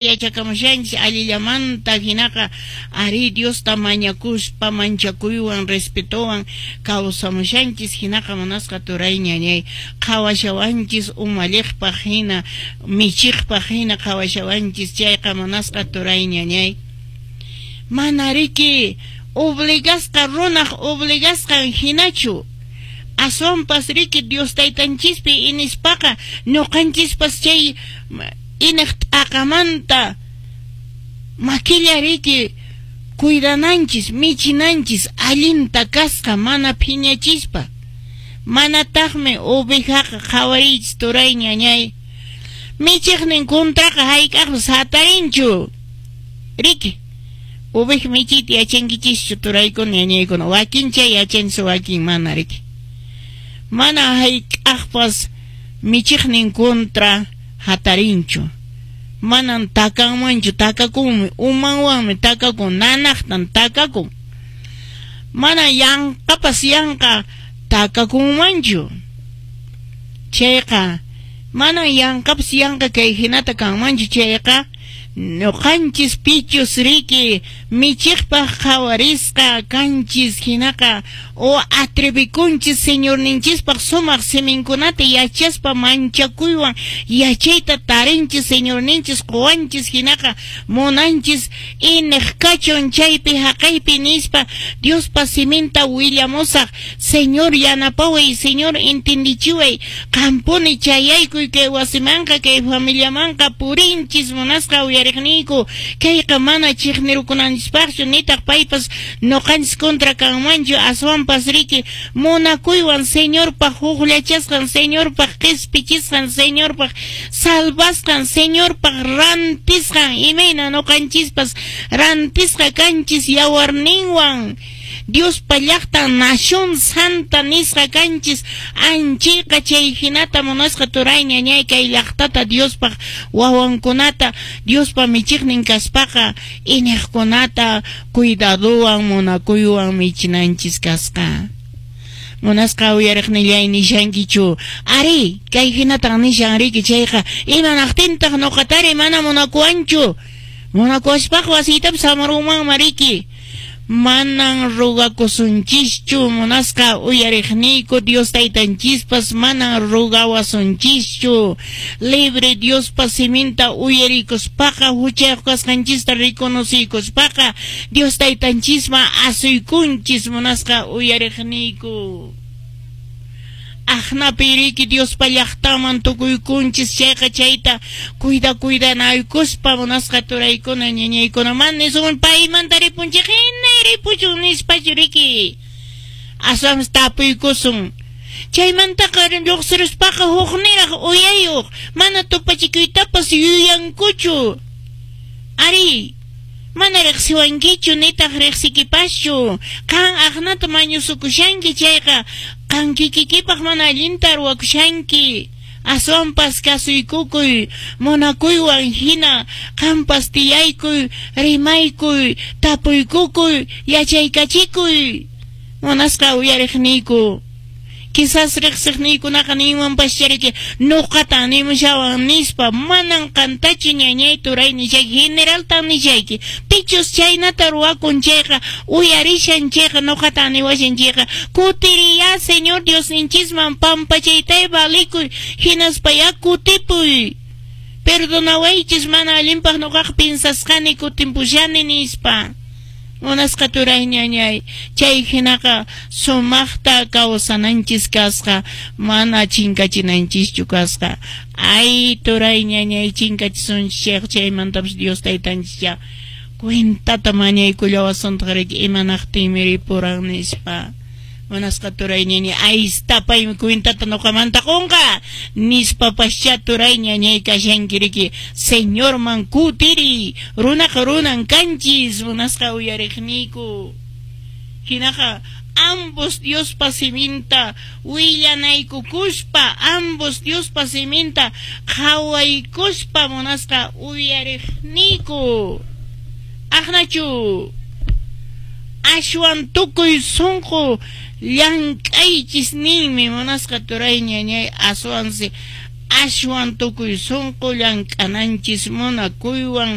Yachakamushanchis allillamanta hinaqa arí Diosta mañakuspa manchakuywan respetowan kawsamushanchis hinaqa munasqa turay ñañay qhawashawanchis umalliqpaq hina michiqpaq hina qhawashawanchis chayqa munasqa turay ñañay mana riki obligasqa runaq obligasqan hinachu aswanpas riki Dios taytanchispi inispaqa ñuqanchispas chay ineq t'aqamanta makilla riki cuidananchis michinanchis allinta kasqa mana phiñachispa manataqmi ovejaqa qhawariychis turay ñañay michiqnin contraqa hayk'aqpas hatarinchu riki oveja michiyta yachankichischu turaykuna ñañaykuna wakin chay yachanchis wakin mana riki mana hayk'aqpas michiqnin contra hatarinchu manan takanmanchu takakunmi umanwanmi takakun nanaqtan takakun mana yanqapas yanqa takakunmanchu chayqa manan yanqapas yanqa kay hinata kanmanchu chayqa ñuqanchis pichus riki michiqpaq qhawarisqa kanchis hinaqa o atrevikunchis Señorninchispaq sumaq siminkunata yachaspa manchakuywan yachayta tarinchis Señorninchis quwanchis hinaqa munanchis ineq kachun chaypi haqaypi nispa Diospa siminta willamusaq Señor yanapaway Señor entendichiway qampuni chayaykuy kay wasimanqa kay familiamanqa purinchis munasqa uyariqniyku kayqa mana chiqnirukunanchispaqchu nitaq paypas ñuqanchis contra kanmanchu aswanpas riki munakuywan Señorpaq hukllachasqan Señorpaq qispichisqan Señorpaq salvasqan Señorpaq rantisqan imayna ñuqanchispas rantisqa kanchis yawarninwan Diospa llaqtan nación santa nisqa kanchis anchayqa chay hinata munasqa turay ñañay kay llaqtata Diospaq wawankunata Diospa michiqnin kaspaqa iñiqkunata cuidadowan munakuywan michinanchis kasqa. Munasqa uyariqnillay nishankichu ari kay hinatan nishan riki chayqa imanaqtintaq ñuqatari mana munakuwanchu munakuwaspaqa wasiytapas hamurunmanmi riki manan rogakusunchischu munasqa uyariqniyku Dios taytanchispas manan rogawasunchischu libre Diospa siminta uyarikuspaqa huchayuq kasqanchista reconociykuspaqa Dios taytanchisman asuykunchis munasqa uyariqniyku aqnapi riki Diospa llaqtaman tukuykunchis chayqa chayta cuida cuidanaykuspa munasqa turaykuna ñañaykuna man nisun paymanta ripunchik hina ripuchun nispachu riki aswanpas tapuykusun chaymantaqa lluqsiruspaqa hukniraq uyayuq mana tupachikuytapas yuyankuchu ari mana riqsiwankichu nitaq riqsikipaschu qan aqnata mañusukushanki chayqa qan kikikipaq mana allinta ruwakushanki aswanpas kasuykukuy munakuywan hina qanpas tiyaykuy rimaykuy tapuykukuy yachaykachikuy munasqa uyariqniyku quizás riqsiqniykunaqa ninmanpaschá riki ñuqatan nimushawan nispa manan qantachu ñañay turay nishayki generaltan nishayki pichus chaynata ruwakun chayqa uyarishan chayqa ñuqatan niwashan chayqa kutiriyá Señor Diosninchisman pampachaytay valikuy hinaspayá kutipuy perdonawaychis mana allinpaq ñuqaqa pinsasqani kutimpushani nispa munasqa turay ñañay chay hinaqa sumaqta kawsananchis kasqa mana chinkachinanchischu kasqa ay turay ñañay chinkachisunchis chayqa chaymantapas Dios taytanchis cuentata mañaykullawasuntaq riki imanaqtinmi ripuran nispa munasqa turay ñañay aysta paymi cuentata ñuqamanta qunqa nispapaschá turay ñañay kashanki riki Señorman kutiriy runaqa runan kanchis munasqa uyariqniyku hinaqa ambos Diospa siminta willanaykukuspa ambos Diospa siminta qhawaykuspa munasqa uyariqniyku aqnachu ashwan tukuy sunqu llank'aychis ninmi munasqa turay ñañay aswansi Ashwan tukuy sunqu llank'ananchis munakuywan.